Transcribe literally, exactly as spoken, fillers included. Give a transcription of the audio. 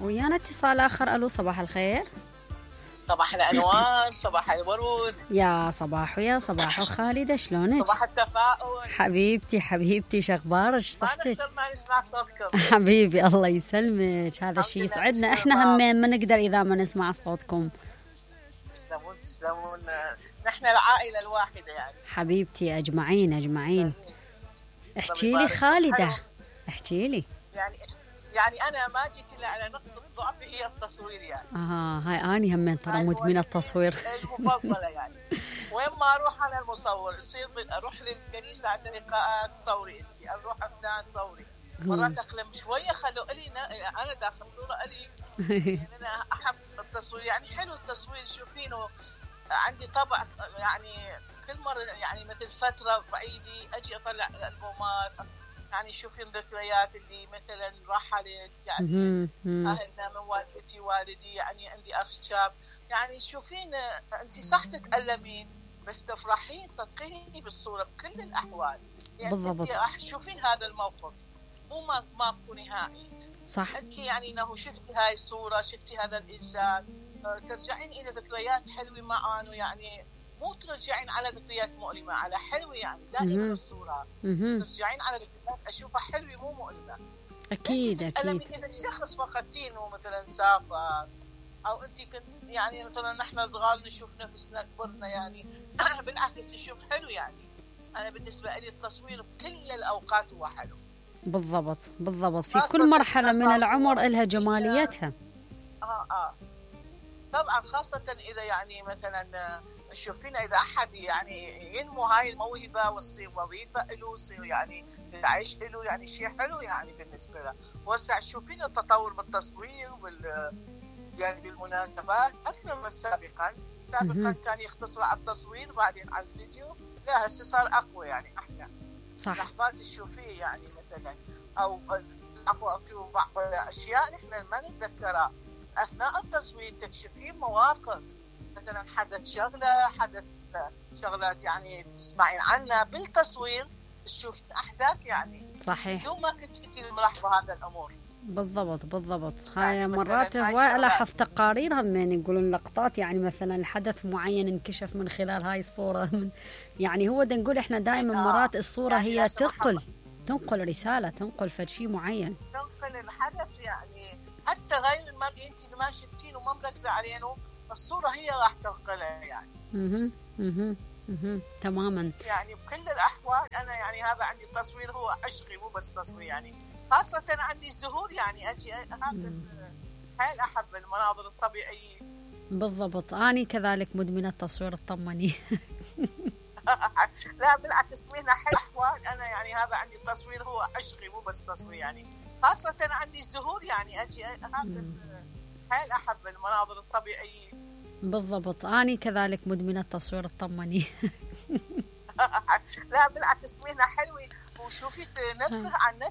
ويانا اتصال آخر. ألو صباح الخير. صباح الأنوار، صباح الورود. يا صباح ويا صباح خالدة، شلونك؟ صباح التفاؤل. حبيبتي حبيبتي شخبارك صحتك؟ ما نقدر ما نسمع صوتكم. حبيبي الله يسلمك، هذا الشيء يسعدنا، احنا همين ما نقدر إذا ما نسمع صوتكم. تسلمون تسلمون، نحن العائلة الواحدة يعني. حبيبتي أجمعين أجمعين. احكي لي خالدة، احكي لي. يعني يعني أنا ما جيت إلا على نقطة ضعفي هي التصوير يعني. آه هاي أني همين ترى مدمنة التصوير. المفضلة يعني. وين ما أروح أنا المصور، يصير أروح للكنيسة عند لقاءات صوري أنتي، أروح فلان صوري. مرات أقلم شوية خلوا إلي أنا داخل صورة إلي. يعني أنا أحب التصوير، يعني حلو التصوير. شوفينه عندي طبع يعني كل مرة يعني مثل فترة بعيدي أجي أطلع الألبومات، يعني شوفين ذكريات اللي مثلا رحلت يعني أهلنا من والدتي والدي، يعني عندي أخ شاب. يعني شوفين أنت صح تتألمين بس تفرحين صدقيني بالصورة بكل الأحوال. يعني بالضبط. راح تشوفين هذا الموقف مو ما ماكو نهائي. صح. أنت يعني إنه شفتي هاي الصورة، شفتي هذا الإنسان، ترجعين إلى ذكريات حلوة معانه، يعني مو ترجعين على ذكريات مؤلمة، على حلوة يعني دائما الصورة ترجعين على ذكريات أشوفها حلوة مو مؤلمة. أكيد أكيد. إذا الشخص فقدتينه مثلا سافر أو أنت كنت يعني مثلا نحن صغار نشوف نفسنا كبرنا يعني بالعكس نشوف حلو يعني. أنا بالنسبة لي التصوير بكل الأوقات هو حلو. بالضبط بالضبط، في كل مرحلة من العمر إلها جماليتها. آه آه طبعا، خاصة إذا يعني مثلا شوفينا إذا أحد يعني ينمو هاي الموهبة وتصير وظيفة له، يصير يعني يعيش له، يعني شيء حلو يعني بالنسبة له. وسع شوفينا التطور بالتصوير وبال يعني بالمناسبات أكثر من سابقا. سابقا كان يختصر على التصوير بعدين على الفيديو، لا هسه صار أقوى يعني أحلى. صح. لحظات تشوفيه يعني مثلا أو أقوى في بعض الأشياء نحن ما نتذكرها أثناء التصوير. تكشفين مواقف مثلا حدث شغلة حدث شغلات يعني تسمعين عنها بالتصوير، تشوفين أحداث يعني. صحيح. يوم ما كنت في ملاحظة هذا الأمور. بالضبط بالضبط. هاي يعني مرات هواي لاحظ تقارير هم يعني يقولون لقطات يعني مثلا حدث معين انكشف من خلال هاي الصورة من يعني هو دا نقول احنا دائما آه. مرات الصورة يعني هي تنقل تنقل رسالة، تنقل فد شيء معين، تنقل الحدث يعني. حتى غير المرئي انت اللي ما شفتينه وما مركزة علينه الصورة هي راح تنقلها يعني. اها اها اها تماما. يعني بكل الأحوال أنا يعني هذا عندي التصوير هو عشقي مو بس تصوير يعني. خاصة عندي الزهور يعني أجي هذا حيل أحب المناظر الطبيعية. بالضبط، أنا كذلك مدمنة تصوير اطمني. لا بالعكس مهنة حيل أحوال أنا يعني هذا عندي التصوير هو عشقي مو بس تصوير يعني. خاصة عندي الزهور يعني أجي هذا حيل أحب المناظر الطبيعية. بالضبط، أنا كذلك مدمنة تصوير اطمني. لا بالعكس مهنة حلوة وشوفي تنبه عن نفسك.